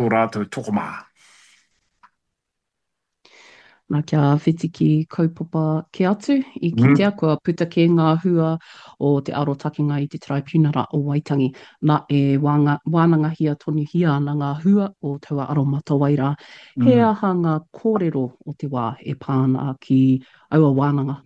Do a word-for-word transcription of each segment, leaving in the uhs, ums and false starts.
tō rātou tokomaha. Nā, kia whiti ki kaupapa kē atu, i Mm. kitea kua puta kē ngā hua o te arotakenga i te Taraipiunara o Waitangi. Nā, e wānga, wānangahia tonuhia ana ngā hua o taua aromatawai rā. He Mm. aha ngā kōrero o te wā e pā ana ki aua wānanga?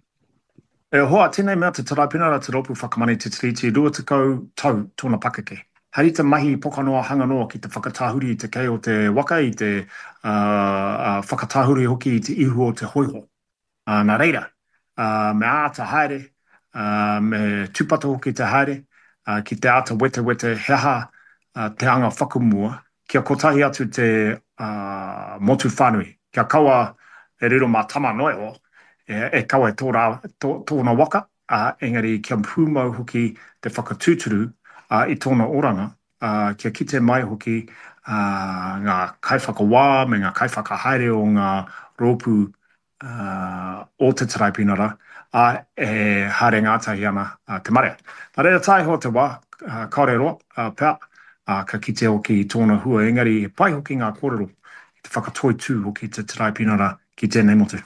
E hoa, tēnei mea te Taraipiunara te Rōpū Whakamana i te Tiriti, rua tekau tau tōna pakeke. Hari te mahi pokanoa hanga noa ki te whakatahuri i te kei o te waka, i te uh, uh, whakatahuri hoki i te ihu o te hoiho. Uh, nā reira, uh, me āta haere, uh, me tūpato hoki te haere, uh, ki te āta wetewete he aha uh, te anga whakamua, kia kotahi atu te uh, motu whānui, kia kaua e riro mā tama noa iho, e, e kawe tō rā, tō, tōna waka, uh, engari kia pūmau hoki te whakatūturu uh, i tōna oranga, uh, kia kite mai hoki uh, ngā kaiwhakawā me ngā kaiwhakahaere o ngā rōpū uh, o te Taraipiunara, a e haere ngātahi ana uh, te marea. Nā reira tae iho te wā, uh, kāore roa, uh, pea, uh, ka kite hoki i tōna hua, engari he pai hoki ngā kōrero i te whakatoitū hoki te Taraipiunara ki tēnei motu.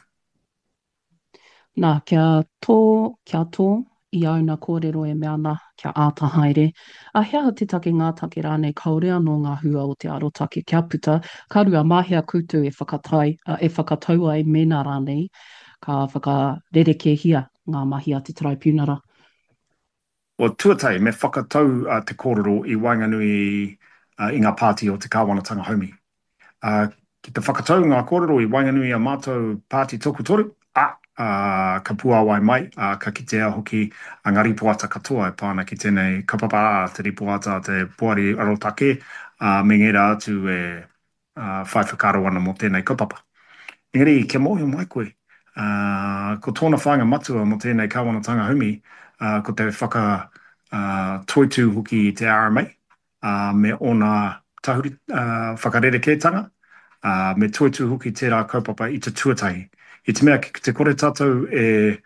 Nā, kia tō, kia tō i āuna kōrero e mea ana kia āta haere. A he aha te take, ngā take rānei kāore anō ngā hua o te arotake kia puta, ka rua, mā hea koutou e whakatai, e whakatau ai mēnā rānei ka whakarerekēhia ngā mahi a te Taraipiunara? Well, tuatahi, me whakatau uh, te kōrero i waenganui uh, i ngā pāti o te kāwanatanga haumi. Uh, ki te whakatau ngā kōrero i waenganui i a mātou pāti tokotoru, a, uh, ka puāwai mai, uh, ka kitea hoki a ngā ripoata katoa e pā ana ki tēnei kaupapa, ā, te ripoata, te poari arotake, uh, me ngērā atu e uh, whai whakaaro ana mō tēnei kaupapa. Engari, kia mōhio mai koe, uh, ko tōna whāinga matua mō tēnei kāwanatanga haumi, uh, ko te whaka uh, toitū hoki i te R M A, uh, me ōna tahuri, uh, whakarerekētanga, uh, me toitū hoki tērā kaupapa i te tuatahi. I te mea ki te kore tātou e,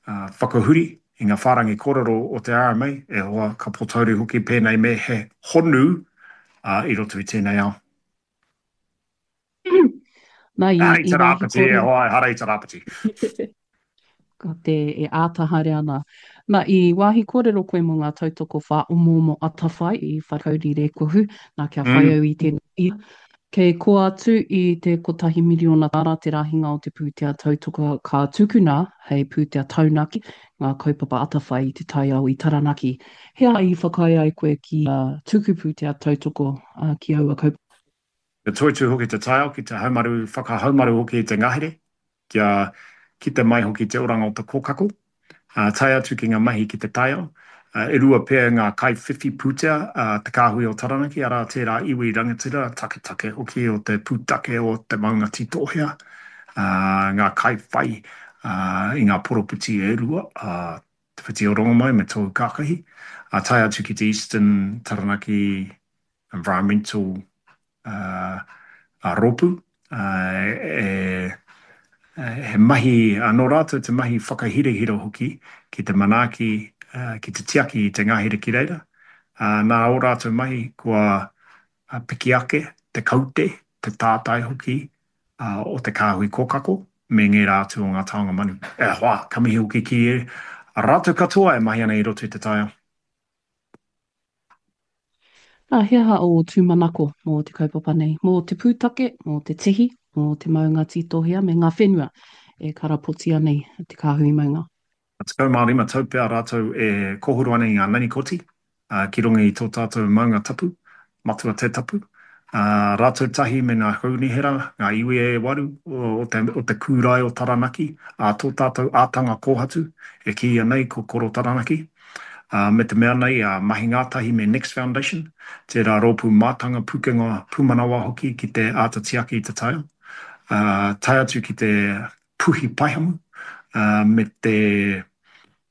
uh, whakahuri i ngā whārangi kōrero o te R M A, e hoa ka potauri hoki pēnei me he honu, uh, i roto i tēnei ao. Nā, i, Hara i i te wāhi rāpati, e kōrero. hoa, hara i te rāpati. Ka te e āta haere ana. Nā, i wāhi kōrero koe mō ngā tautoko whāomoomo atawhai i Wharekauri Rēkohu, nā kia whai Mm. au i tēnei. Kei kō atu i te kotahi miriona tāra te rahinga o te pūtea tautoko ka tukuna hei pūtea taunaki ngā kaupapa atawhai i te taiao i Taranaki. He aha i whakaae ai koe ki, uh, tuku pūtea tautoko, uh, ki aua kaupapa? Te toitū hoki te taiao, ki te haumaru, whakahaumaru hoki i te ngahere, kia kite mai hoki te oranga o te kōkako, uh, tae atu ki ngā mahi ki te taiao. Uh, e rua pea ngā kaiwhiwhi pūtea, uh, te kāhui o Taranaki, arā tērā iwi rangatira, taketake hoki o te pūtake o te maunga tītohea, uh, ngā kaiwhai, uh, i ngā poropiti e rua, uh, te whiti o Rongomai me tōu kākahi, uh, tae atu ki te Eastern Taranaki Environmental, uh, a rōpū, uh, e, e, he mahi anō rātou te mahi whakahirahira hoki ki te manaaki, uh, ki te tiaki i te ngahere ki reira. Uh, nā ō rātou mahi kua, uh, piki ake te kaute, te tātai hoki, uh, o te kāhui kōkako me ngērā atu o ngā taonga manu. E hoa, ka mihi hoki ki e rātou katoa e mahi ana i roto i te taiao. Nā, he aha o tūmanako mō te kaupapa nei? Mō te pūtake, mō te tihi, mō te maunga tītohea me ngā whenua e karapotia nei te kāhui maunga. Tekau mā rima tau pea rātou e kōhuru ana i ngā nanikoti, uh, ki runga i tō tātou maunga tapu, matua te tapu. Uh, rātou tahi me ngā kaunihera, ngā iwi e waru o, o te, o te kūrae o Taranaki, a tō tātou ātanga kōhatu, e kīia nei ko Koro Taranaki. Uh, me te mea nei, uh, mahi ngātahi me Next Foundation, tērā rōpū mātanga pūkenga pūmanawa hoki ki te āta tiaki i te taiao. Uh, tae atu ki te puhi paihamu, uh, me te,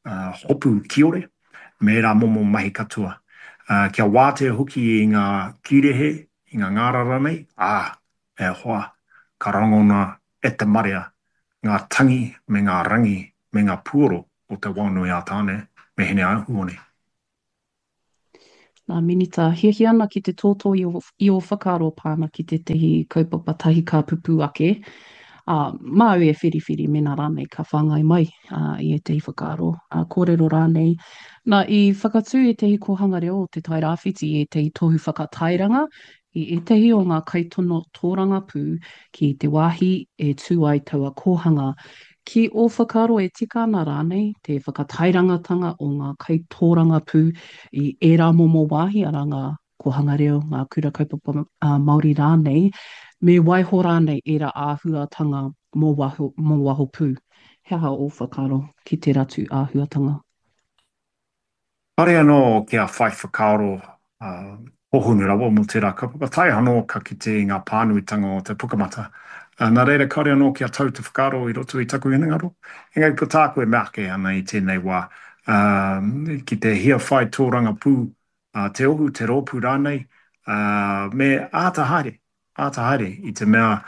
uh, hopu kiore, me rā momo mahi katoa. Uh, kia wātea hoki i ngā kīrehe, i ngā ngārara nei, ā, e hoa, ka rangona e te marea, ngā tangi me ngā rangi me ngā puoro o te waonui a Tāne, me Hine Ahuone. Nā Minita, hiahia ana ki te tōtō i ō, i ō whakaaro pā ana ki tētahi kaupapa tahi ka pupū ake, ā, māu e whiriwhiri mēnā rānei ka whāngai mai ā, i ētahi whakaaro, ā, kōrero rānei. Nā, i whakatū ētahi kōhanga reo o Te Tai Rāwhiti i ētahi tohu whakatairanga i ētahi o ngā kaitono tōrangapū ki te wāhi e tū ai taua kōhanga. Ki ō whakaaro e tika ana rānei te whakatairangatanga o ngā kaitōrangapū i ērā momo wāhi, arā ngā kōhanga reo, ngā kura kaupapa Māori rānei, me waiho rānei ērā āhuatanga mō waho, mō waho pū? He aha ō whakaaro ki tērā tū āhuatanga? Kāore anō kia whai whakaaro hōhonu rawa mō tērā kaupapa, tae anō ka kite i ngā pānuitanga o te Pukamata. Nā reira, kāore anō kia tau te whakaaro i roto i taku hinengaro. Engari ko tāku e mea ake ana i tēnei wā, ki te hia whai tōrangapū te ohu, te rōpū rānei, me āta haere. Āta haere, i te mea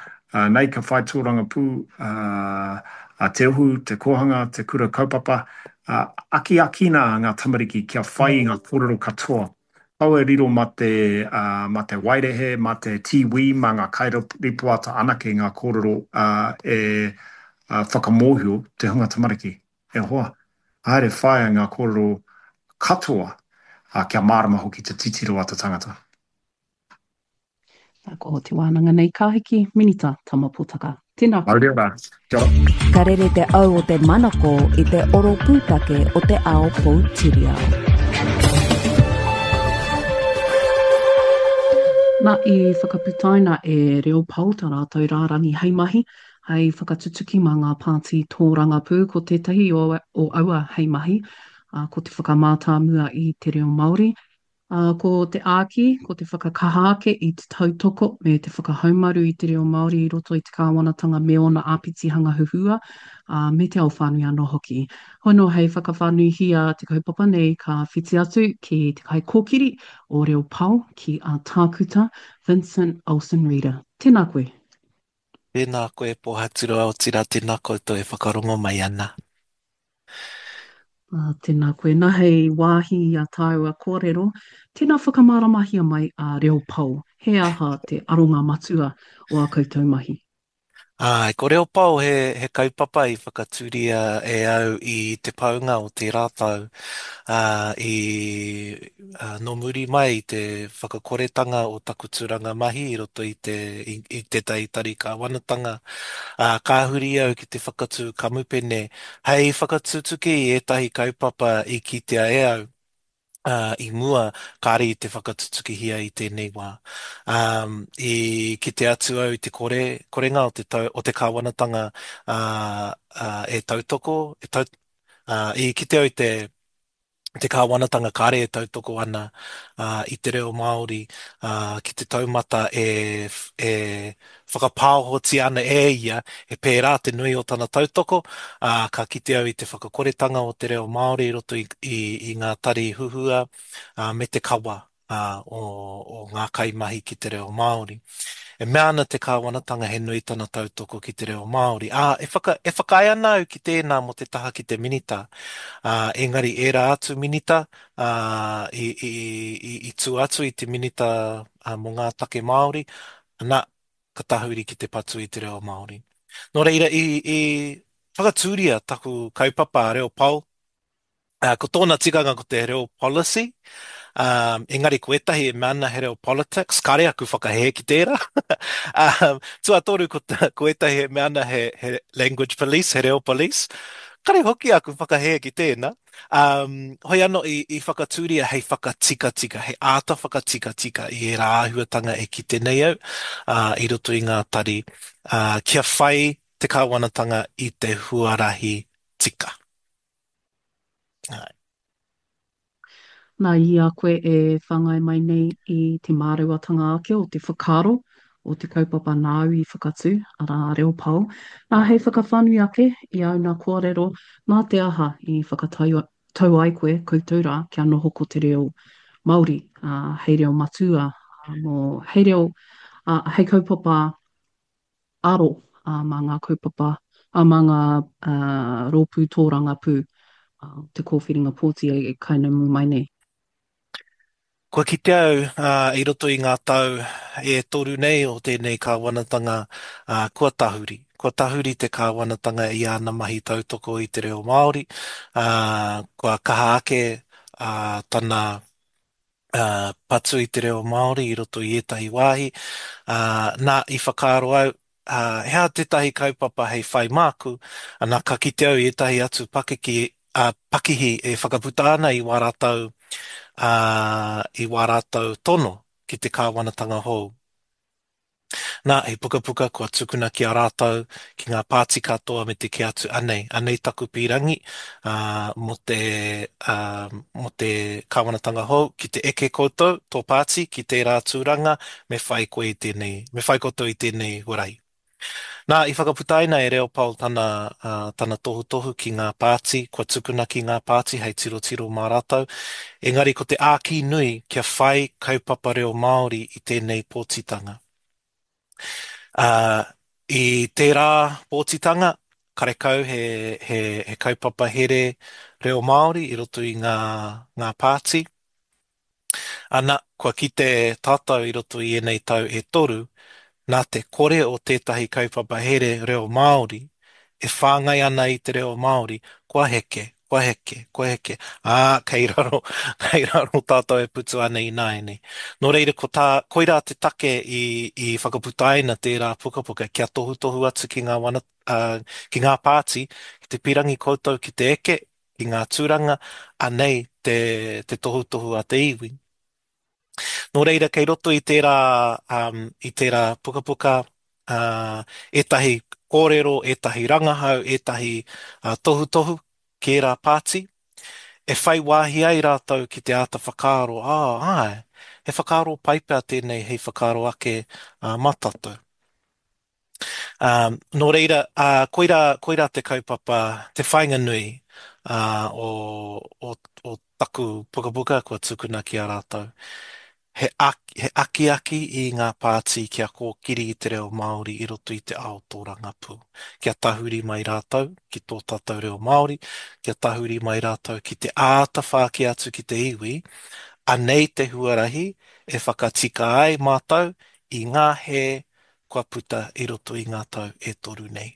nei ka whai tōrangapū a Te Ohu, te kōhanga, te kura kaupapa, akiakina ngā tamariki kia whai i ngā kōrero katoa. Kaua e riro mā te, mā te waerehe, mā te tīwī, mā ngā kairipoata anake ngā kōrero e whakamōhio te hunga tamariki. E hoa, haere whāia ngā kōrero katoa kia mārama hoki te titiro a te tangata. Nā, ko te wānanga nei ka hiki, Minita Tama Potaka. Tēnā koe. Mauri ora. Kia ora. Ka rere te au o te manako i te oro pūtake o te ao poutiriao. Nā, i whakaputaina e Reo Pao tā rātou rārangi hei mahi, hei whakatutuki mā ngā pāti tōrangapū. Ko tētahi o, o aua hei mahi, ā, ko te whakamātāmua i te reo Māori, Ā, ko te āki, ko te whakakaha ake i te tautoko me te whakahaumaru i te reo Māori i roto i te kāwanatanga me ōna āpitihanga huhua, ā, me te ao whānui anō hoki. Hoi nō hei whakawhānuihia te kaupapa nei ka whiti atu ki te kaikōkiri o Reo Pao ki a Tākuta Vincent Olsen-Reeder. Tēnā koe. Tēnā koe Pōhaturoa, otirā tēnā koutou e whakarongo mai ana. Ā, tēnā koe. Nā, hei wāhi i a tāua kōrero, tēnā whakamāramahia mai a Reo Pao, he aha te aronga matua o ā koutou mahi? Āe, ko Reo Pao he, he kaupapa i whakatūria e au i te paunga o tērā tau, ā, i, ā, nō muri mai i te whakakoretanga o taku tūranga mahi i roto i te, i, i tētahi tari kāwanatanga, ā, ka huri au ki te whakatū kamupene Hei whakatutuki i ētahi kaupapa i kitea e au i mua, kāre i te whakatutukihia i tēnei wā. I kite atu au i te kore, korenga o te tau, o te kāwanatanga e tautoko, e tau, i kite au i te te kāwanatanga kāre e tautoko ana i te reo Māori ki te taumata e, e whakapāohotia ana e ia, he pērā te nui o tana tautoko, ā, ka kite au i te whakakoretanga o te reo Māori i roto i, i, i ngā tari huhua, ā, me te kawa ā, o, o ngā kaimahi ki te reo Māori. E mea ana te kāwanatanga he nui tana tautoko ki te reo Māori, ā, e whaka, e whakaae ana au ki tēnā mō te taha ki te minita, ā, engari ērā atu minita, ā, i, i, i, i tua atu i te minita ā, mō ngā take Māori, ana, ka tahuri ki te patu i te reo Māori. Nō reira, i, i whakatūria taku kaupapa a Reo Pao, ā, ko tōna tikanga ko te reo policy, ā, engari ko ētahi e mea ana he reo politics, kāre aku whakahē ki tērā. Ā, tuatoru ko, ko ētahi e mea ana he, he language police, he reo police, kāre hoki aku whakahē ki tēnā. Ā, hoi anō i, i whakatūria hei whakatikatika, hei āta whakatikatika i ērā āhuatanga e kite nei au, ā, i roto i ngā tari, ā, kia whai te kāwanatanga i te huarahi tika. Āe. Nā, i a koe e whāngai mai nei i te māreuatanga ake o te whakaaro o te kaupapa nāu i whakatū, arā, a Reo Pao, nā, hei whakawhānui ake i āu nā kōrero, nā te aha i whakatau tau ai koe, koutou rā, kia noho ko te reo Māori, ā, hei reo matua, ā, mō, hei reo, ā, hei kaupapa aro mā ngā kaupapa, mā ngā rōpū tōrangapū o te kōwhiringa pōti e kainamu mai nei. Kua kite au i roto i ngā tau e toru nei o tēnei kāwanatanga, kua tahuri. Kua tahuri te kāwanatanga i āna mahi tautoko i te reo Māori, kua kaha ake tana patu i te reo Māori i roto i ētahi wāhi. Nā, i whakaaro au, he aha tētahi kaupapa hei whai māku, ana ka kite au i ētahi atu pakeke, pakihi e whakaputa ana i wā rātou, i wā rātou tono ki te kāwanatanga hou. Nā, he pukapuka kua tukuna ki a rātou, ki ngā pāti katoa me te kī atu, anei, anei taku pīrangi mō te, mō te kāwanatanga hou, ki te eke koutou, tō pāti, ki tērā tūranga, me whai koe i tēnei, me whai koutou i tēnei huarahi. Nā, i whakaputaina e Reo Paul tana, tana tohutohu ki ngā pāti, kua tukuna ki ngā pāti hei tirotiro mā rātou, engari ko te āki nui kia whai kaupapa reo Māori i tēnei pōtitanga. Ā, i tērā pōtitanga, karekau he, he, he kaupapa here reo Māori i roto i ngā, ngā pāti. Ana, kua kite tātou i roto i ēnei tau e toru, nā te kore o tētahi kaupapa here reo Māori e whāngai ana i te reo Māori, kua heke, kua heke, kua heke, ā, kei raro, kei raro tātou e putu ana ināianei. Nō reira, ko tā, koirā te take i, i whakaputaina tērā pukapuka kia tohutohu atu ki ngā wana, ā, ki ngā pāti, ki te pīrangi koutou ki te eke, ki ngā tūranga, anei te, te tohutohu a te iwi. Nō reira, kei roto i tērā, um, i tērā pukapuka, uh, ētahi kōrero, ētahi rangahau, ētahi uh, tohutohu ki ērā pāti, e whai wāhi ai rātou ki te āta whakaaro, ā, āe, he whakaaro pai pea tēnei hei whakaaro ake uh, mā tātou. Um, nō reira, uh, koirā, koirā te kaupapa, te whāinga nui uh, o, o, o taku pukapuka kua tukuna ki a rātou. He, he akiaki i ngā pāti kia kōkiri i te reo Māori i roto i te ao tōrangapū. Kia tahuri mai rātou ki tō tātou reo Māori, kia tahuri mai rātou ki te āta whāki atu ki te iwi, anei te huarahi e whakatika ai mātou i ngā hē kua puta i roto i ngā tau e toru nei.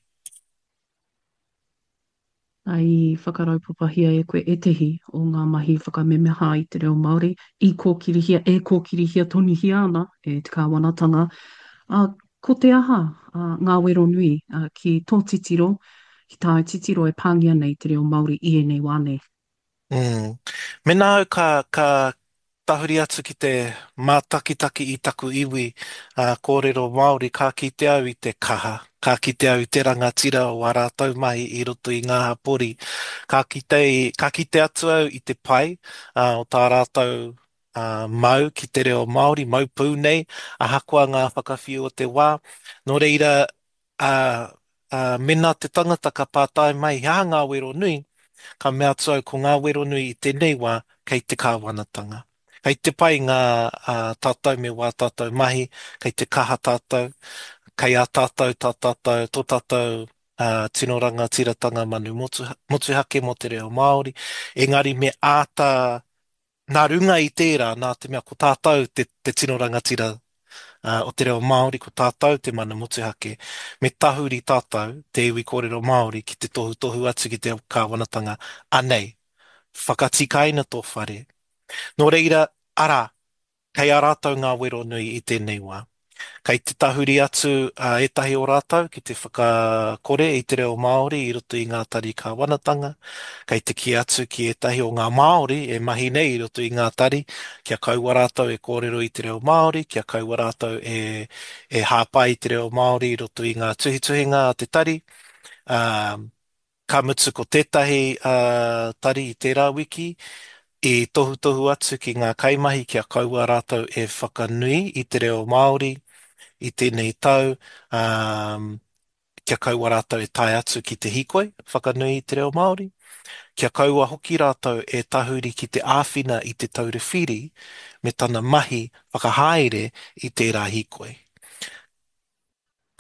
I whakaraupapahia e koe ētehi o ngā mahi whakamemeha i te reo Māori i kōkirihia, e kōkirihia tonuhia ana e te kāwanatanga. Ā, ko te aha ngā wero nui ki tō titiro, ki tāu titiro e pāngia nei te reo Māori i ēnei wā nei? Mm. Mēnā au ka, ka tahuri atu ki te mātakitaki i taku iwi uh, kōrero Māori, ka kite au i te kaha, ka kite au i te rangatira o ā rātou mahi i roto i ngā hapori, ka kite, ka kite atu au i te pai uh, o tā rātou uh, mau ki te reo Māori, mau pū nei, ahakoa ngā whakawhiu o te wā. Nō reira, uh, uh, mēnā te tangata ka pātai mai, he aha ngā wero nui, Ka mea atu au ko ngā wero nui i tēnei wā kei te kāwanatanga. Kei te pai ngā tātou me wā tātou mahi, kei te kaha tātou, kei a tātou tā tātou, tō tātou tino rangatiratanga manu motuhake mō te reo Māori, engari me āta, nā runga i tērā, nā te mea ko tātou te, te tino rangatira o te reo Māori, ko tātou te mana motuhake, me tahuri tātou, te iwi kōrero Māori, ki te tohutohu atu ki te kāwanatanga, anei, whakatikaina tō whare. Nō reira, arā, kei a rātou ngā wero nui i tēnei wā. Kei te tahuri atu ētahi o rātou ki te whakakore i te reo Māori i roto i ngā tari kāwanatanga, kei te kī atu ki ētahi o ngā Māori e mahi nei i roto i ngā tari kia kaua rātou e kōrero i te reo Māori, kia kaua rātou e, e hāpai i te reo Māori i roto i ngā tuhituhinga a te tari. Ā, ka mutu ko tētahi tari i tērā wiki i tohutohu atu ki ngā kaimahi kia kaua rātou e whakanui i te reo Māori i tēnei tau, ā, kia kaua rātou e tae atu ki te hīkoi whakanui i te reo Māori, kia kaua hoki rātou e tahuri ki te āwhina i Te Taura Whiri me tana mahi whakahaere i tērā hīkoi.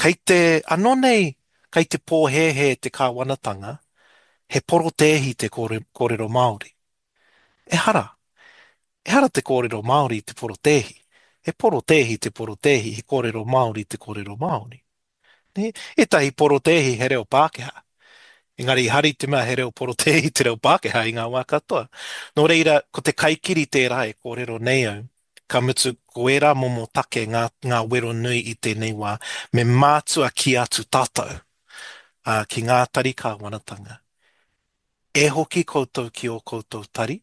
Kei te, anō nei, kei te pōhēhē te kāwanatanga, he porotēhi te kōrero Māori. Ehara! Ehara te kōrero Māori i te porotēhi. He porotēhi te porotēhi, he kōrero Māori te kōrero Māori. Nē? Ētahi porotēhi he reo Pākehā. Engari ehara i te mea he reo porotēhi te reo Pākehā i ngā wā katoa. Nō reira, ko te kaikiri tērā e kōrero nei au. Ka mutu, ko ērā momo take ngā, ngā wero nui i tēnei wā, me mātua kī atu tātou, ā, ki ngā tari kāwanatanga. E hoki koutou ki ō koutou tari,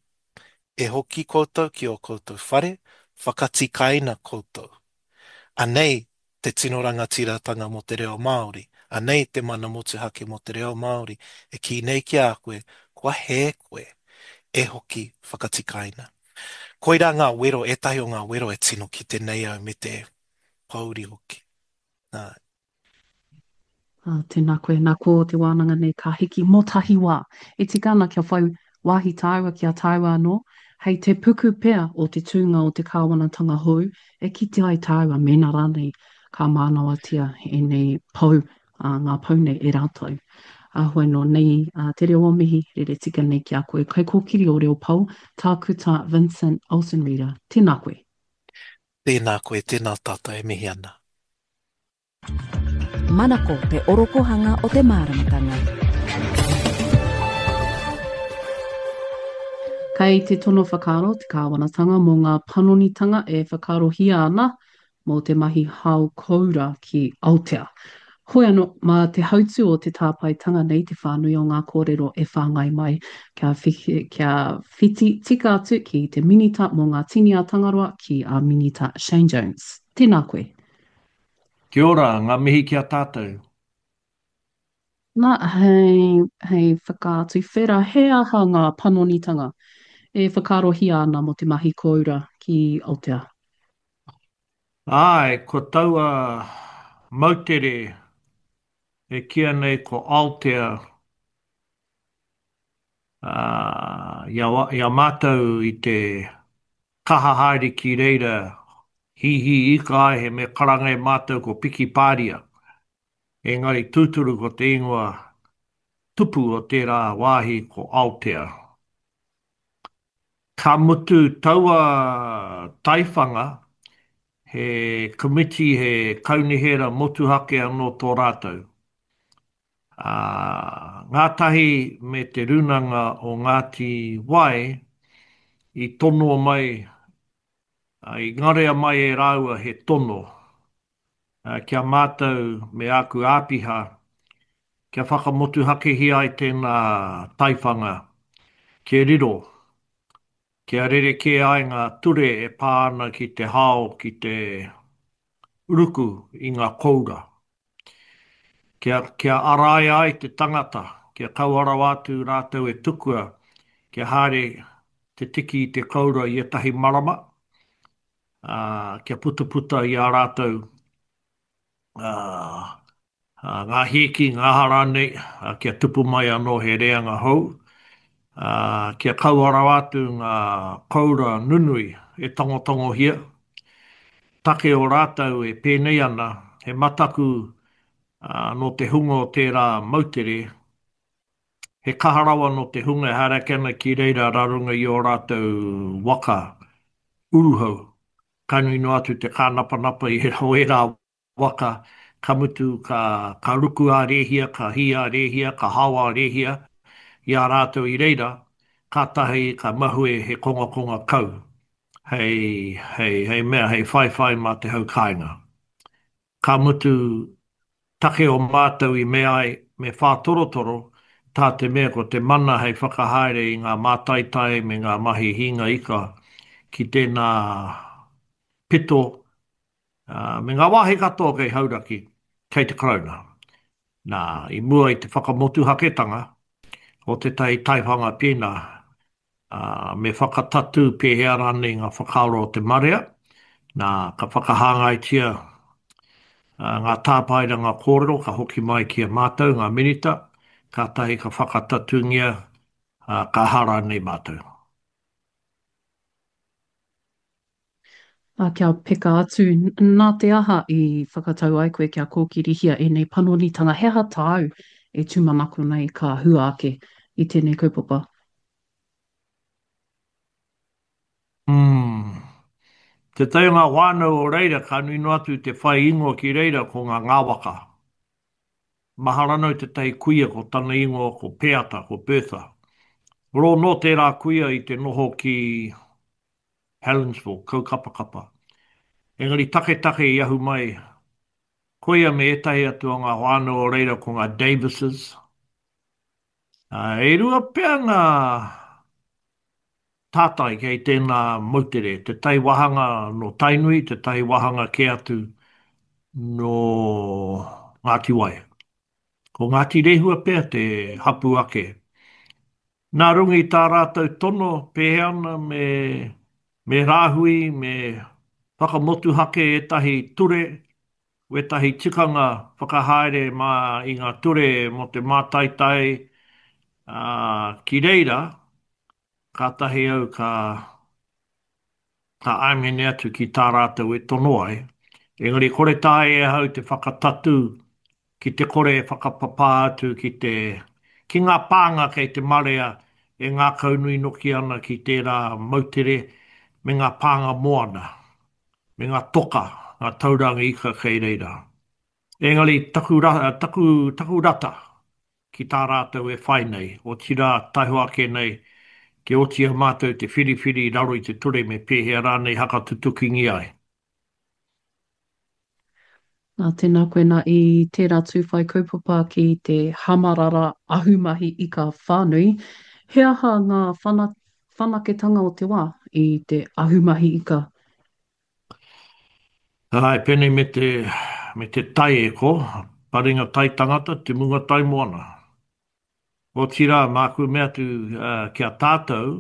e hoki koutou ki ō koutou whare, whakatikaina koutou. Anei te tino rangatiratanga mō te reo Māori, anei te mana motuhake mō te reo Māori e kī nei ki a koe, kua hē koe, e hoki whakatikaina. Koirā ngā wero, ētahi o ngā wero e tino kite nei au me te pōuri hoki. Nā. Ā, tēnā koe, nā ko te wānanga nei ka hiki mō tahi wā. E tika ana kia whai wāhi tāua ki a tāua anō, hei te puku pea o te tūnga o te kāwanatanga hou e kite ai tāua mēnā rānei ka mānawatia ēnei pou, ā, ngā pou nei e rātou. Ā, hoi nō nei ā, te reo o mihi, rere tika nei ki a koe, kaikōkiri o Reo Pou, Tākuta Vincent Olsen-Reeder. Tēnā koe. Tēnā koe, tēnā tātou e mihi ana. Manako te orokohanga o te māramatanga. Kei te tono whakaaro te kāwanatanga mō ngā panonitanga e whakaarohia ana mō te mahi hao koura ki Aotea. Hoi anō, mā te hautū o te tāpaetanga nei te whānui o ngā kōrero e whāngai mai kia, kia whiti tika atu ki te Minita mō ngā Tini a Tangaroa ki a Minita Shane Jones. Tēnā koe. Kia ora, ngā mihi ki a tātou. Na, hei, hei whakaatu whera he aha ngā panonitanga e whakaarohia ana mō te mahi kōura ki Aotea? Āe, ko taua moutere e kīia nei ko Aotea, ā, i a, i a mātou i te kaha haere ki reira hīhī ika ai he mea karanga e mātou ko Piki Pāria. Engari tūturu ko te ingoa tupu o tērā wāhi ko Aotea. Ka mutu taua taiwhanga he komiti he kaunihera motuhake anō tō rātou. Ā, ngātahi me Te Rūnanga o Ngāti Wai i tonoa mai, i ngarea mai e rāua he tono ki a mātou me āku āpiha kia whakamotuhakehia ai tēnā taiwhanga kia riro, kia rerekē ai ngā ture e pā ana ki te hao, ki te ruku i ngā koura. Kia, kia araia ai te tangata, kia kaua rawa atu rātou e tukua kia haere te tiki i te koura i ētahi marama, ā, kia putaputa i ā rātou, ā, ā, ngā hīki, ngā aha rānei, ā, kia tupu mai anō he reanga hou, ā, kia kaua rawa atu ngā koura nunui e tangotangohia. Take o rātou e pēnei ana, he mataku Ā, nō te hunga o tērā moutere, he kaha rawa nō te hunga e haere ake ana ki reira rā runga i ō rātou waka uruhau. Ka nui noa atu te kānapanapa i o ērā waka, ka mutu ka, ka ruku ā-rēhia, ka hī ā-rēhia, ka hao ā-rēhia i a rātou i reira, kātahi ka mahue he kongakonga kau hei, hei, hei mea, hei whaiwhai mā te hau kāinga. Ka mutu, take o mātou i mea ai me whātorotoro, tā te mea ko te mana hei whakahaere i ngā mātaitai me ngā mahi hīnga ika ki tēnā pito, me ngā wāhi katoa kei Hauraki, kei te Karauna. Nā, i mua i te whakamotuhaketanga o tētahi taiwhanga pēnā, ā, me whakatatū pēhea rānei ngā whakaaro o te marea, nā, ka whakahāngaitia ngā tāpaeranga kōrero ka hoki mai ki a mātou, ngā Minita, kātahi ka whakatatūngia, ā, ka aha rānei mātou. Ā, kia peka atu, nā te aha i whakatau ai koe kia kōkirihia ēnei panonitanga, he aha tāu e tūmanako nei ka hua ake i tēnei kaupapa? Mm. Tētahi o ngā whānau o reira ka nui noa atu te whai ingoa ki reira ko ngā Ngāwaka. Mahara nau tētahi kuia ko tana ingoa ko Peata, ko Bertha. Rō nō tērā kuia i te noho ki Helensville, Kaukapakapa. Engari taketake i ahu mai koia me ētahi atu o ngā whānau o reira ko ngā Davises. Ā, e rua pea ngā tātai kei tēnā moutere, tētahi wāhanga nō Tainui, tētahi wāhanga kē atu nō Ngāti Wai. Ko Ngāti Rehua pea te hapū ake. Nā runga i tā rātou tono, pēhea ana me, me rāhui, me whakamotuhake ētahi ture, wētahi tikanga whakahaere mā i ngā ture mō te mātaitai, ā, ki reira, kātahi au ka, ka āmene atu ki tā rātou e tono ai, engari kore taea e ahau te whakatatū ki te kore e whakapapā atu ki te, ki ngā pānga kei te marea e ngākaunui noki ana ki tērā moutere me ngā pānga moana, me ngā toka, ngā tauranga ika kei reira. Engari taku, taku, taku rata ki tā rātou e whai nei, otirā, taihoa ake nei, kia oti i a mātou te whiriwhiri i raro i te ture me pēhea rānei hakatutukingia ai. Nā, tēnā koe nā i tērā tū whai kaupapa ki te hamarara ahumahi ika whānui, he aha ngā whanaketanga o te wā i te ahumahi ika? Āe, pēnei me te, me te tai e ko, paringa tai tangata, te munga tai moana. Otirā, māku mea atu ki a tātou,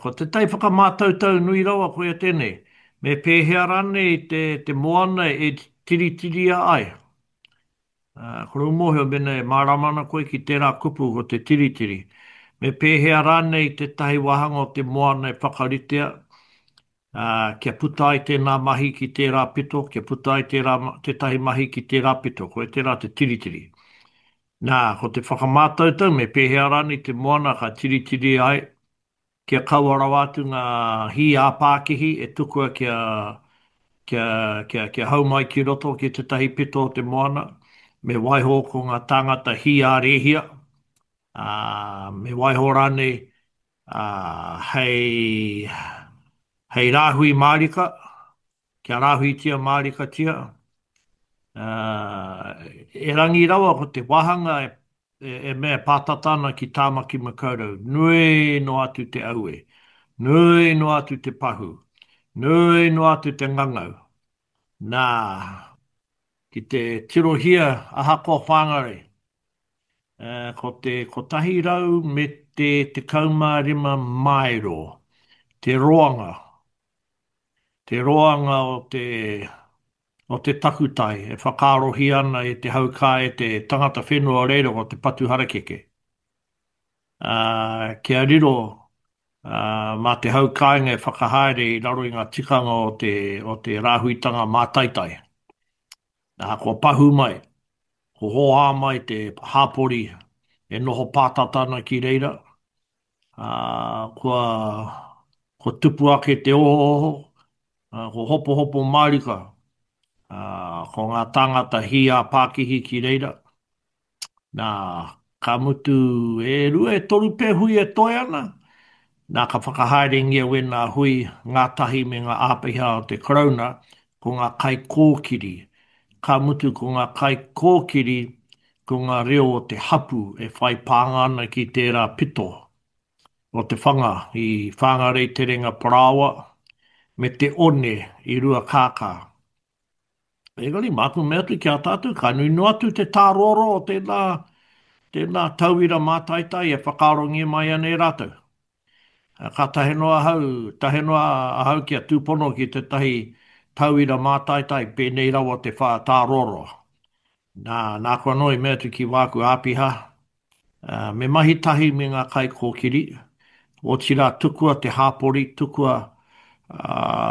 ko te tai whakamātautau nui rawa koia tēnei, me pēhea rānei te, te moana e tiritiria ai? Kore u mōhio mēnā e mārama ana koe ki tērā kupu ko te tiritiri. Me pēhea rānei tētahi wāhanga o te moana e whakaritea Ā, kia puta ai tēnā mahi ki tērā pito, kia puta ai tērā, tētahi mahi ki tērā pito, koia tērā te tiritiri. Nā, ko te whakamātautau me pēhea rānei te moana ka tiritiri ai, kia kaua rawa atu ngā hī ā-pākihi e tukua kia, kia, kia, kia hau mai ki roto ki tētahi pito o te moana, me waiho ko ngā tāngata hī ā-rēhia, ā, me waiho rānei ā, hei, hei rāhui mārika, kia rāhuitia mārikatia, ā, erangi rawa ko te wāhanga e, e, e mea e pātata ana ki Tāmaki Makaurau, nui noa atu te aue, nui noa atu te pahū, nui noa atu te ngangau. Nā, ki te tirohia ahakoa Whāngarei, Ko te kotahi rau me te tekau mā rima māero te roanga, te roanga o te, o te takutai e whakaarohia ana e te hau kā e te tangata whenua o reira ko te patu harakeke. Ā, kia riro, ā, mā te hau kāinga e whakahaere i raro i ngā tikanga o te, o te rāhuitanga mātaitai. Ā, kua pahū mai, kua hōhā mai te hāpori e noho pātata ana ki reira, ā, kua, kua tupu ake te ohooho, ā, kua hopohopo mārika, ā, ko ngā tāngata hī ā-pākihi ki reira. Nā, ka mutu e rua, e toru pea hui e toe ana, nā, ka whakahaerengia wēnā hui ngātahi me ngā āpiha o te Karauna, ko ngā kaikōkiri. Ka mutu ko ngā kaikōkiri ko ngā reo o te hapū e whai pānga ana ki tērā pito o te whanga i Whāngarei Terenga Parāoa me te one i Ruakākā. Engari, māku mea atu ki a tātou, ka nui noa atu te tārōrō o tēnā, tēnā tauira mātaitai e whakaarongia mai ana e rātou. Ka tahe noa ahau, tahe noa ahau kia tūpono ki tētahi tauira mātaitai pēnei rawa te whā tārōrō. Nā, nāku anō i mea atu ki wāku āpiha, Me mahi tahi me ngā kaikōkiri, otirā tukua te hāpori, tukua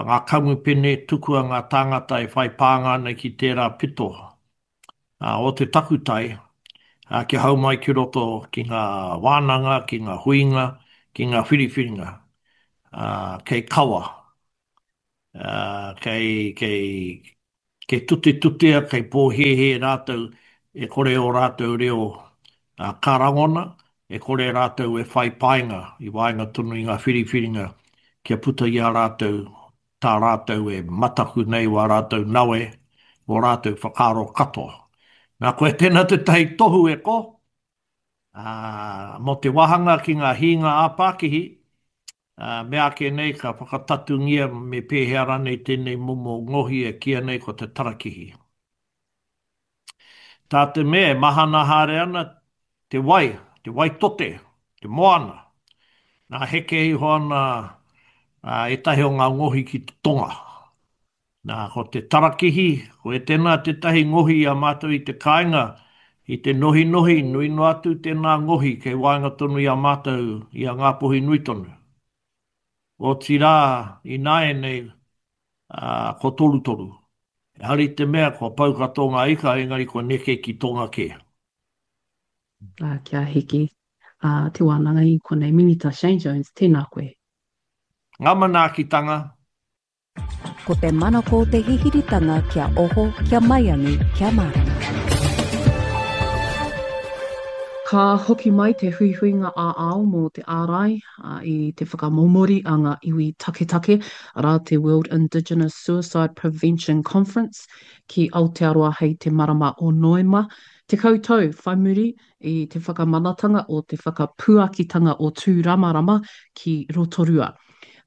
ngā kamupene, tukua ngā tāngata e whai pānga ana ki tērā pito o te takutai kia hau mai ki roto ki ngā wānanga, ki ngā huinga, ki ngā whiriwhiringa. ā, kei kawa, ā, kei, kei, kei tutetutea, kei pōhēhē rātou e kore ō rātou reo ka rangona, e kore rātou e whai painga i waenga tonu i ngā whiriwhiringa kia puta i a rātou tā rātou e mataku nei wā rātou nawe, wō rātou whakaaro katoa. Nā, koe tēnā tētahi tohu e ko, ā, mō te wāhanga ki ngā hīnga ā-pākihi, ā, meāke nei ka whakatatungia me pēhea rānei tēnei momo ngohi e kīia nei ko te tarakihi. Tā te mea e mahana haere ana te wai, te wai tote, te moana, nā heke iho ana ētahi o ngā ngohi ki te tonga. Nā, ko te tarakihi, koe tēnā tētahi ngohi i a mātou i te kāinga, i te nohinohi, nui noa atu tēnā ngohi kei waenga tonu i a mātou, i a Ngāpuhi nui tonu. Otirā, ināianei, ā, ko torutoru. Ehara i te mea kua pau katoa ngā ika, engari kua neke ki tonga kē. Ā, kia hiki, ā, te wānanga i konei. Minita Shane Jones, tēnā koe. Ngā manaakitanga. Ko te manako te hihiritanga kia oho, kia maiangi, kia mārama. Ka hoki mai te huihuinga ā-ao mō te ārai i te whakamomori a ngā iwi taketake, arā te World Indigenous Suicide Prevention Conference, ki Aotearoa hei te marama o Noema, tekau tau whai muri i te whakamanatanga o te whakapuakitanga o Tūramarama ki Rotorua.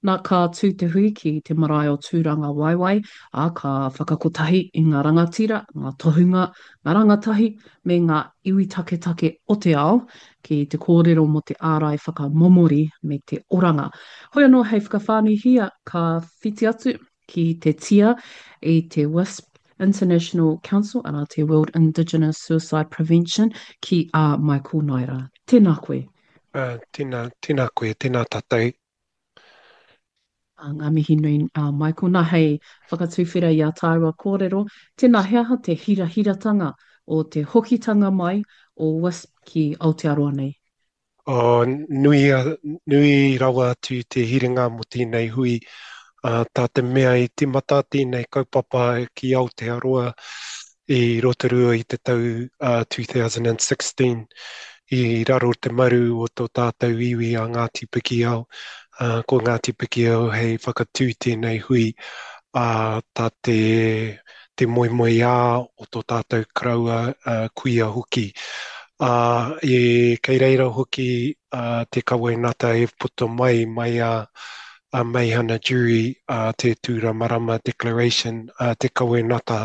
Na, ka tū te hui ki te marae o Tūrangawaewae, ā, ka whakakotahi i ngā rangatira, ngā tohunga, ngā rangatahi me ngā iwi taketake o te ao ki te kōrero mō te ārai whakamomori me te oranga. Hoi anō hei whakawhānuihia ka whiti atu ki te tia i te WISP International Council, arā te World Indigenous Suicide Prevention, ki a Michael Naera. Tēnā koe. Uh, tēnā, tēnā koe, tēnā tātou. Uh, ngā mihi nui, uh, Michael. Nā, hei whakatuwhera i a tāua kōrero, tēnā, he aha te hirahiratanga o te hokitanga mai o WISP ki Aotearoa nei? Oh, nui, nui rawa atu te hiringa mō tēnei hui. Uh, tā te mea i timata tēnei kaupapa ki Aotearoa i Rotorua i te tau uh, two thousand sixteen i raro te maru o tō tātou iwi a Ngāti Pikiao. Uh, ko Ngāti Pikiao hei whakatū tēnei hui, uh, tā te, te moemoeā o tō tātou karaua, uh, kuia hoki. Uh, e, kei reira hoki, uh, te kawenata e puta mai, mai a, a Meihana Jury, uh, te Tūramarama Declaration, uh, te kawenata,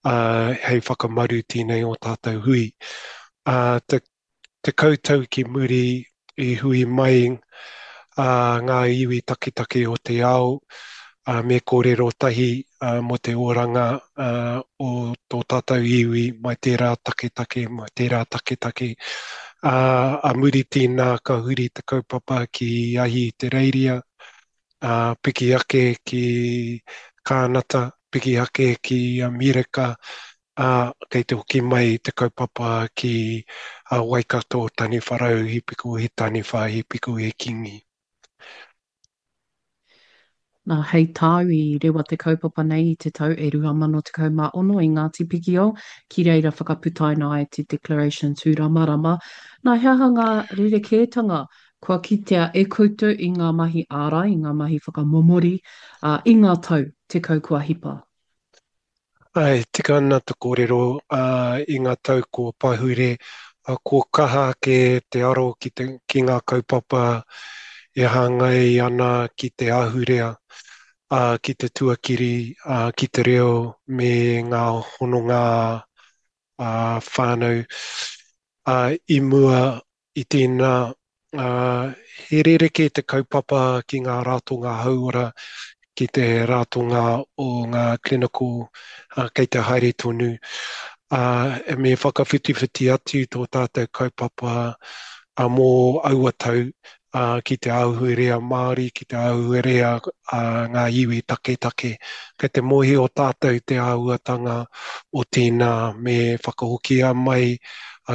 uh, hei whakamaru tēnei o tātou hui. Uh, te, te kautau ki muri i hui mai, uh, ngā iwi taketake o te ao, uh, me kōrero tahi, uh, mō te oranga, uh, o tō tātou iwi, mai tērā taketake, mai tērā taketake. Uh, a muri tēnā ka huri te kaupapa ki Ahi Te Reiria, uh, piki ake ki Kānata, piki ake ki Amerika, uh, kei te hoki mai te kaupapa ki, uh, Waikato, Taniwharau, Hipiko, he Taniwha, Hipiko, he Kingi. Nā, hei tāu i rewa te kaupapa nei i te tau e rua mano tekau mā ono i Ngāti Pikiao, ki reira whakaputaina ai te Declaration Tūramarama. Nā, he aha ngā rerekētanga kua kitea e koutou i ngā mahi ārai, i ngā mahi whakamomori, ā, i ngā tau tekau kua hipa? Ai, tika ana te kōrero, ā, i ngā tau kua pahure, ā, kua kaha ake te aro ki te, ki ngā kaupapa e hāngai ana ki te ahurea, ā, ki te tuakiri, ā, ki te reo me ngā hononga, ā, whānau. Ā, i mua i tēnā, ā, he rerekē te kaupapa ki ngā ratonga hauora, ki te ratonga o ngā clinical, ā, kei te haere tonu. Ā, me whakawhitiwhiti atu tō tātou kaupapa, ā, mō aua tau, ā, ki te ahurea Māori, ki te ahurea a ngā iwi taketake. Kei te mōhio tātou te āhuatanga o tēnā me whakahokia mai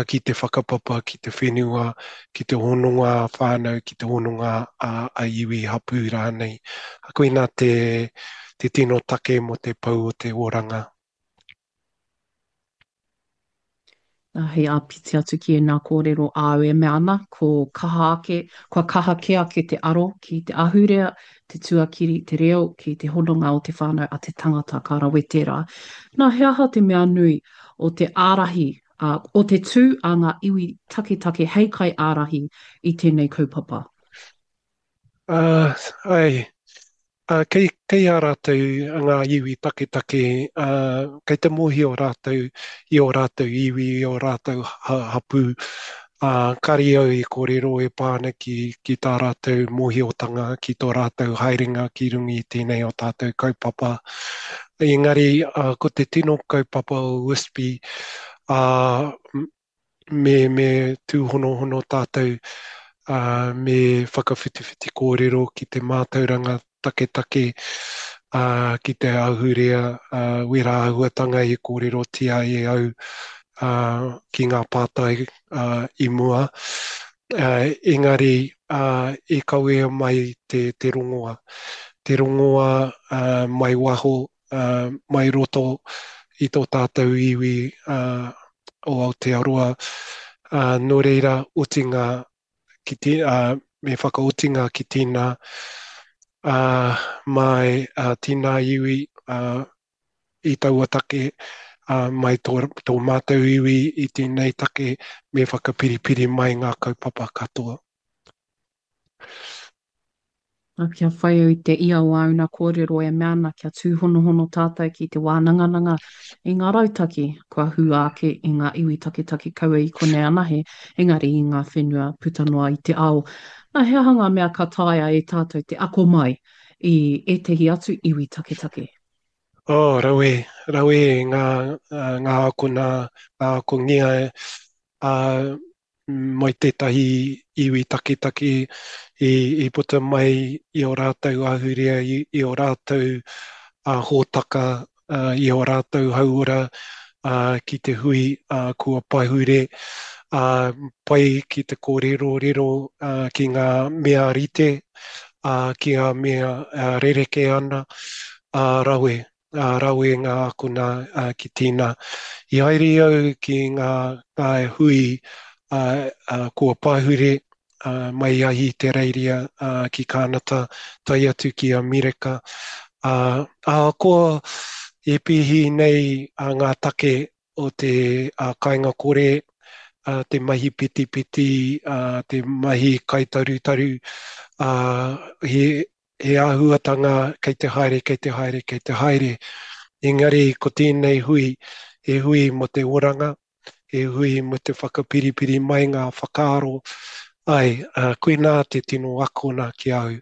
ki te whakapapa, ki te whenua, ki te hononga ā-whānau, ki te hononga ā-iwi, hapū rānei. Koinā te, te tino take mō te pou o te oranga. Nā, hei āpiti atu ki ēnā kōrero āu e mea ana, ko kaha ake, kua kaha kē ake te aro ki te ahurea, te tuakiri, te reo, ki te hononga o te whānau a te tangata, ka rawe tērā. Nā, he aha te mea nui o te ārahi, ā, o te tū a ngā iwi taketake hei kaiārahi i tēnei kaupapa? Ā, āe, Ā, kei, kei a rātou ngā iwi taketake, ā, kei te mōhio rātou i ō rātou iwi, i ō rātou hapū, ā, kāre au i kōrero e pā ana ki, ki tā rātou mōhiotanga, ki tō rātou haerenga ki runga i tēnei o tātou kaupapa. Engari, ā, ko te tino kaupapa o WISPI, ā, me, me tūhonohono tātou, ā, me whakawhitiwhiti kōrero ki te mātauranga taketake, ā, ki te ahurea, ā, wērā āhuatanga i kōrerotia e au, ā, ki ngā pātai, ā, i mua. Ā, engari, ā, i kawea mai te, te rongoa. Te rongoa, ā, mai waho, ā, mai roto i tō tātou iwi, ā, o Aotearoa, ā, nō reira, otinga ki te, ā, me whakaotinga ki tēnā, ā, mai, ā, tēnā iwi, ā, i taua take, ā, mai tō, tō mātou iwi i tēnei take, me whakapiripiri mai ngā kaupapa katoa. Nā, kia whai au i te ia o āuna kōrero e mea ana kia tūhonohono tātou ki te wānangananga i ngā rautaki kua hua ake i ngā iwi taketake kaua i konei anahe, engari i ngā whenua puta noa i te ao. Nā, he aha ngā mea ka taea e tātou te ako mai i ētehi atu iwi taketake? Oh, rawe, rawe ngā, ngā akona, ngā akongia, ā, mai tētahi iwi taketake i, i puta mai i ō rātou ahurea, i, i ō rātou uh, hōtaka, uh, i ō rātou hauora uh, ki te hui uh, kua pahure, uh, pai ki te kōrerorero uh, ki ngā mea rite, uh, ki ngā mea uh, rerekē ana, uh, rawe. Ā, rawe ngā akona ki tēnā. I haere au ki ngā, ngā hui ā, ā, kua pahure ā, mai i Ahitereiria ā, ki Kānata, tae atu ki Amerika. Ā, ahakoa e pēhi nei ā, ngā take o te ā, kāinga kore, ā, te mahi petipeti, ā, te mahi kaitarutaru, ā, he, he āhuatanga kei te haere, kei te haere, kei te haere. Engari ko tēnei hui, he hui mō te oranga, he hui mō te whakapiripiri mai ngā whakaaro, āe, koinā te tino akona ki a au.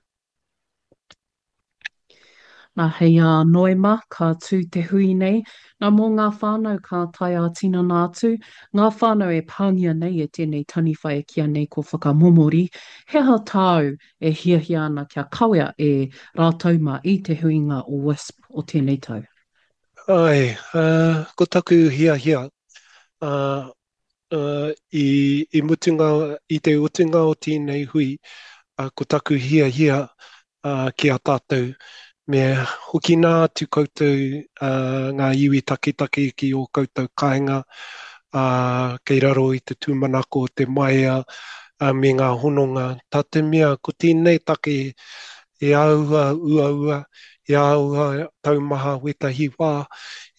Nā, hei a Noema, ka tū te hui nei. Nā, mō ngā whānau ka tae ā-tinana atu, ngā whānau e pāngia nei e tēnei taniwha e kīia nei ko Whakamomori, he aha tāu e hiahia ana kia kawea e rātou mā i te huinga o WISP o tēnei tau? Āe, ko taku hiahia, i, i mutunga, i te otinga o tēnei hui, ko taku hiahia ki a tātou, me hoki nā atu koutou ngā iwi taketake ki ō koutou kāinga, kei raro i te tūmanako o te maea me ngā hononga. Tā te mea, ko tēnei take he āhua uaua, he āhua taumaha wētahi wā,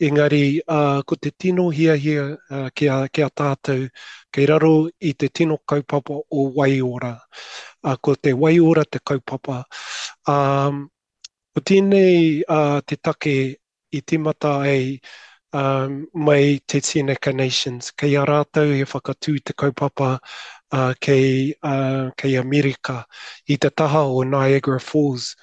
engari ko te tino hiahia ki a, ki a tātou, kei raro i te tino kaupapa o Waiora. Ko te waiora te kaupapa. Ko tēnei te take i tīmata ai mai te Seneca Nations. Kei a rātou he whakatū te kaupapa kei, kei Amerika i te taha o Niagara Falls.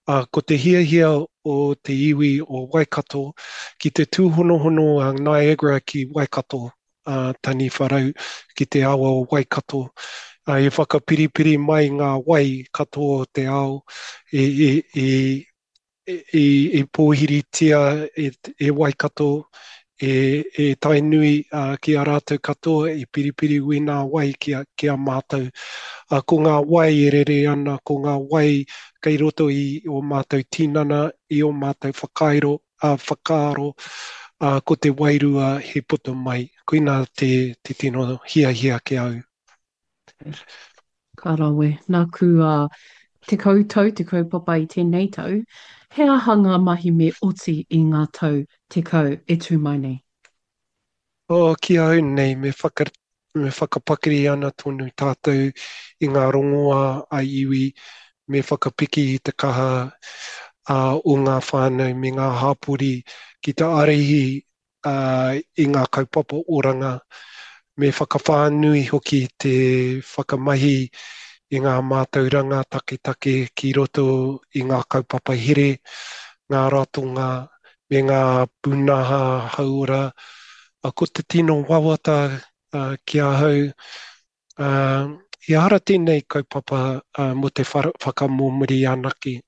Ko te hiahia o te iwi o Waikato ki te tūhonohono a Niagara ki Waikato, a Taniwharau ki te awa o Waikato. I whakapiripiri mai ngā wai katoa o te ao i, i, i, i, i pōhiritia e, e Waikato, e, e Tainui uh, ki a rātou katoa i piripiri wēnā wai ki a, ki a mātou. Uh, ko ngā wai e rere ana, ko ngā wai kei roto i o mātou tinana, i o mātou whakairo, uh, whakaaro, uh, ko te wairua he puta mai. Koina te, te tino hiahia ki au. Ka rawe. Nāku a tekau tau te kaupapa i tēnei tau, he aha ngā mahi me oti i ngā tau tekau e tū mai nei? Oh, ki au nei, me, whaka, me whakapakari ana tonu tātou i ngā rongoā a iwi, me whakapiki i te kaha uh, o ngā whānau me ngā hāpori ki te ārahi uh, i ngā kaupapa oranga, me whakawhānui hoki te whakamahi i ngā mātauranga taketake ki roto i ngā kaupapa here, ngā ratonga, me ngā pūnaha hauora. Ko te tino wawata uh, ki ahau, uh, ehara tēnei kaupapa uh, mō te whakamōmuri anake.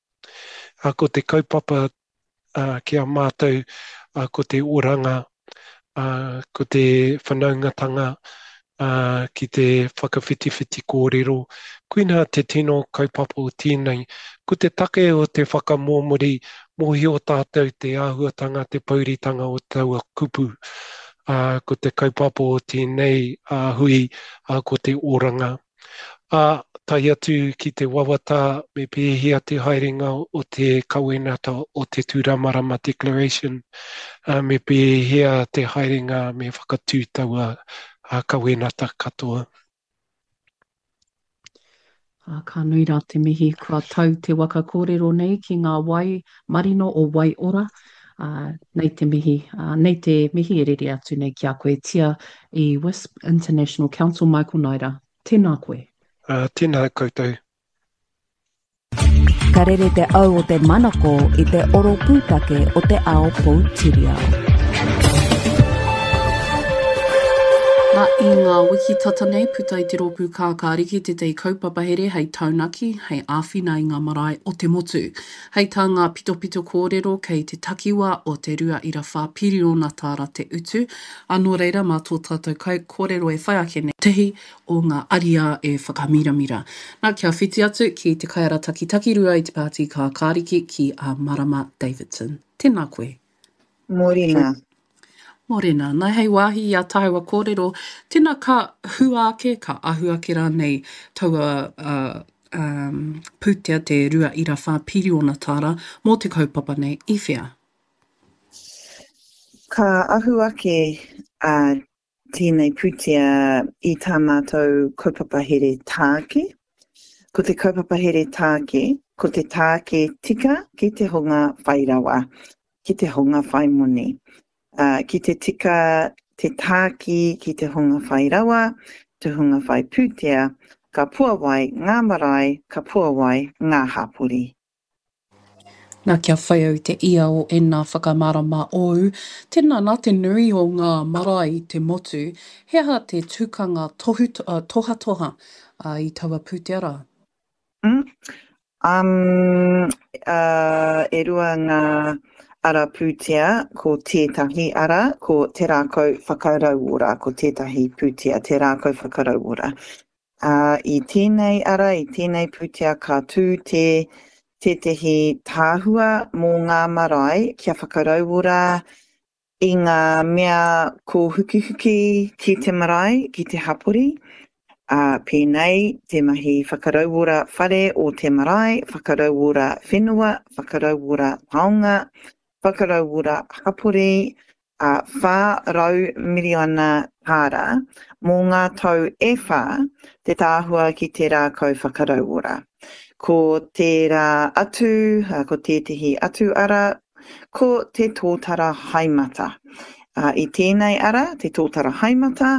Uh, ko te kaupapa uh, ki a mātou, uh, ko te oranga, uh, ko te whanaungatanga, uh, ki te whakawhitiwhiti kōrero. Koina te tino kaupapa o tēnei. Ko te take o te whakamōmuri, mōhio tātou te āhuatanga, te pouritanga o taua kupu. Uh, ko te kaupapa o tēnei uh, hui, uh, ko te oranga. Ā, tae atu ki te wawata me pēhea te haerenga o te kawenata o te Tūramarama Declaration, ā, me pēhea te haerenga me whakatū taua kawenata katoa. Ā, ka nui rā te mihi kua tau te waka kōrero nei ki ngā wai marino o Waiora. Ā, nei te mihi, ā, nei te mihi e rere atu nei ki a koe, Tia i WISP International Council Michael Naida. Tēnā koe. Ā, tēnā koutou. Ka rere te au o te manako i te oro pūtake o te ao poutiriao. Nā, i ngā wiki tata nei, puta i te rōpū Kākāriki tētahi kaupapa here hei taunaki, hei āwhina i ngā marae o te motu. Hei tā ngā pitopito kōrero kei te takiwā o te rua ira whā piriona tāra te utu, ā, nō reira mā tō tātou kaikōrero e whai ake nei, tihi o ngā ariā e whakamiramira. Nā, kia whiti atu ki te kaiarataki takirua i te Pāti Kākāriki ki a Marama Davidson. Tēnā koe. Mōrena. Mōrena. Nā, hei wāhi i a tāua kōrero, tēnā ka hua ake, ka ahu ake rānei taua uh, um, pūtea te rua ira whā piriona tāra mō te kaupapa nei i whea? Ka ahu ake uh, tēnei pūtea i tā mātou kaupapa here tāke. Ko te kaupapa here tāke, ko te tāke tika ki te hunga whai rawa, ki te hunga whai moni. Uh, ki te tika te tāki ki te hunga whai rawa, te hunga whai pūtea, ka puawai ngā marae, ka puawai ngā hapori. Nā, kia whai au te ia o ēnā whakamārama ōu, tēnā nā te nui o ngā marae i te motu, he aha te tukanga tohu, tohatoha i taua pūtea rā? Mm. Um, uh, e rua ngā ara pūtea, ko tētahi ara, ko Te Rākau Whakarauora, ko tētahi pūtea, Te Rākau Whakarauora. Uh, I tēnei ara, i tēnei pūtea ka tū te tētehi tahua mō ngā marae kia whakarauora i ngā mea kōhukihuki ki te marae, ki te hapori, ā, pēnei te mahi whakarauora whare o te marae, whakarauora whenua, whakarauora taonga, whakarauora hapori, ā, whā rau miriona tāra mō ngā tau e whā te tahua ki te rākau whakarauora. Ko tērā atu, ko tētehi atu ara, ko te tōtara haemata. I tēnei ara, te tōtara haemata,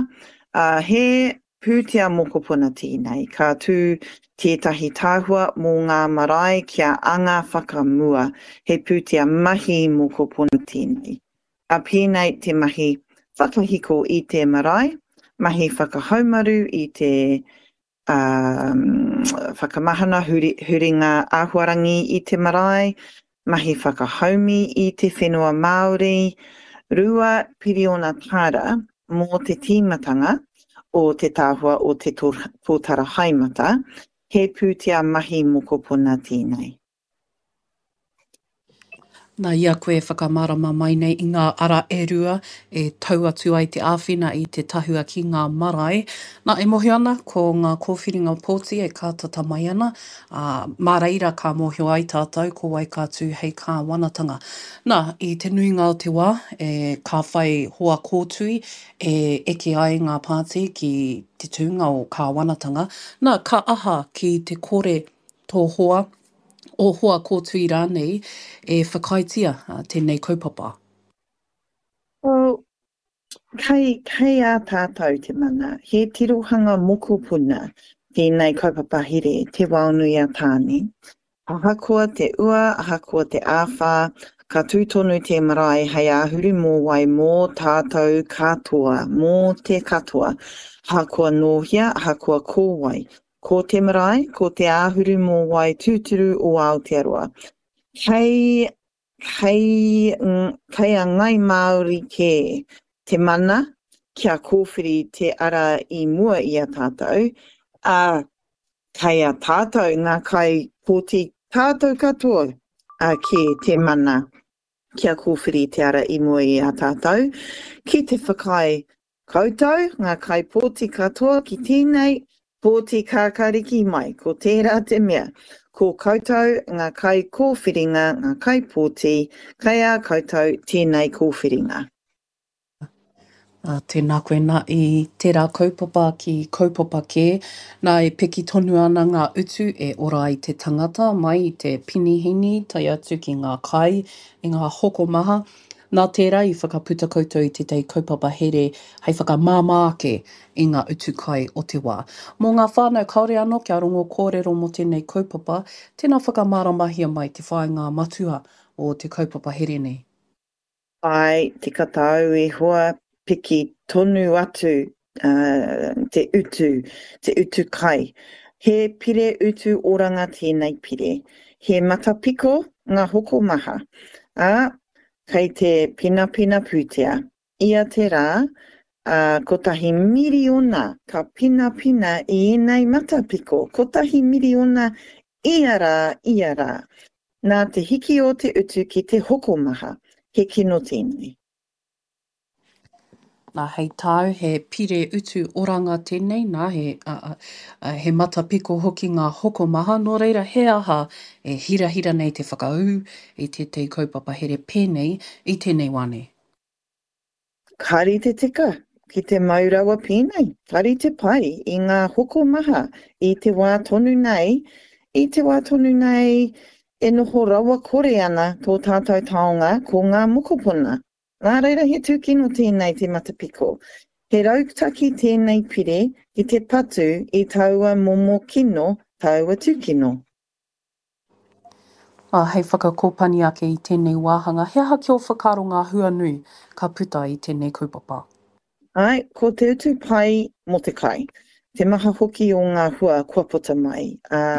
he pūtea mokopuna tēnei. Ka tū tētahi tahua mō ngā marae kia anga whakamua. He pūtea mahi mokopuna tēnei. A pēnei te mahi whakahiko i te marae, mahi whakahaumaru i te whakamahana, huringa āhuarangi i te marae, mahi whakahaumi i te whenua Māori, rua piriona tāra mō te tīmatanga o te tahua o te tōtara haemata, he pūtea mahi mokopuna tēnei. Nā, i a koe e whakamārama mai nei i ngā ara e rua e tau atu ai te āwhina i te tahua ki ngā marae, nā, e mōhio ana ko ngā kōwhiringa pōti e kātata mai ana, ā, mā reira ka mōhio ai tātou ko wai ka tū hei kāwanatanga. Nā, i te nuinga o te wā, e, ka whai hoa kōtui e eke ai ngā pāti ki te tūnga o kāwanatanga. Nā, ka aha ki te kore tō hoa, ō hoa kōtui rānei e whakaaetia tēnei kaupapa? Well, kei, kei a tātou te mana. He tirohanga mokopuna tēnei kaupapa here, Te Waonui a Tāne. Ahakoa te ua, ahakoa te āwhā, ka tū tonu te marae hei āhuru mōwai mō tātou katoa, mō te katoa. Ahakoa nō hea, ahakoa ko wai. Ko te marae, ko te āhuru mōwai tūturu o Aotearoa. Kei, kei, kei a Ngai Māori kē te mana kia kōwhiri te ara i mua i a tātou, ā, kei a tātou ngā kaipōti tātou katoa kē te mana kia kōwhiri te ara i mua i a tātou, ki te whakaae koutou, ngā kaipōti katoa ki tēnei pōti kākāriki mai, ko tērā te mea, ko koutou ngā kaikōwhiringa, ngā kaipōti, kei a koutou tēnei kōwhiringa. Ā, tēnā koe nā i tērā kaupapa ki kaupapa kē, nā e piki tonu ana ngā utu e ora ai te tangata mai i te pinihini tae atu ki ngā kai, i ngā hokomaha. Nā tērā i whakaputa koutou i tētahi kaupapa here hei whakamāmā ake i ngā utu kai o te wā. Mō ngā whānau kāore anō kia rongo kōrero mō tēnei kaupapa, tēnā whakamāramahia mai te whāinga matua o te kaupapa here nei. Āe, tika tāu e hoa, piki tonu atu te utu, te utu kai. He pire utu oranga tēnei pire. He matapiko ngā hokomaha, ā, kei te pinapina pūtea. Ia te rā, ā, kotahi miriona ka pinapina i ēnei matapiko, kotahi miriona ia rā, ia rā. Nā te hiki o te utu ki te hokomaha, he kino tēnei. Nā, hei tāu, he pire utu oranga tēnei, nā, he, a, a, he matapiko hoki ngā hokomaha, nō reira, he aha e hirahira nei te whakaū i tētahi kaupapa here pēnei i tēnei wā nei? Ka rite tika ki te mau rawa pēnei, ka rite pai i ngā hokomaha i te wā tonu nei, i te wā tonu nei e noho rawakore ana tō tātou taonga ko ngā mokopuna. Nā reira he tūkino tēnei te matapiko. He rautaki tēnei pire ki te patu i taua momo kino, taua tūkino. Ā, hei whakakōpani ake i tēnei wāhanga, he aha ki ō whakaaro ngā hua nui ka puta i tēnei kaupapa? Āe, ko te utu pai mō te kai. Te maha hoki o ngā hua kua puta mai, ā,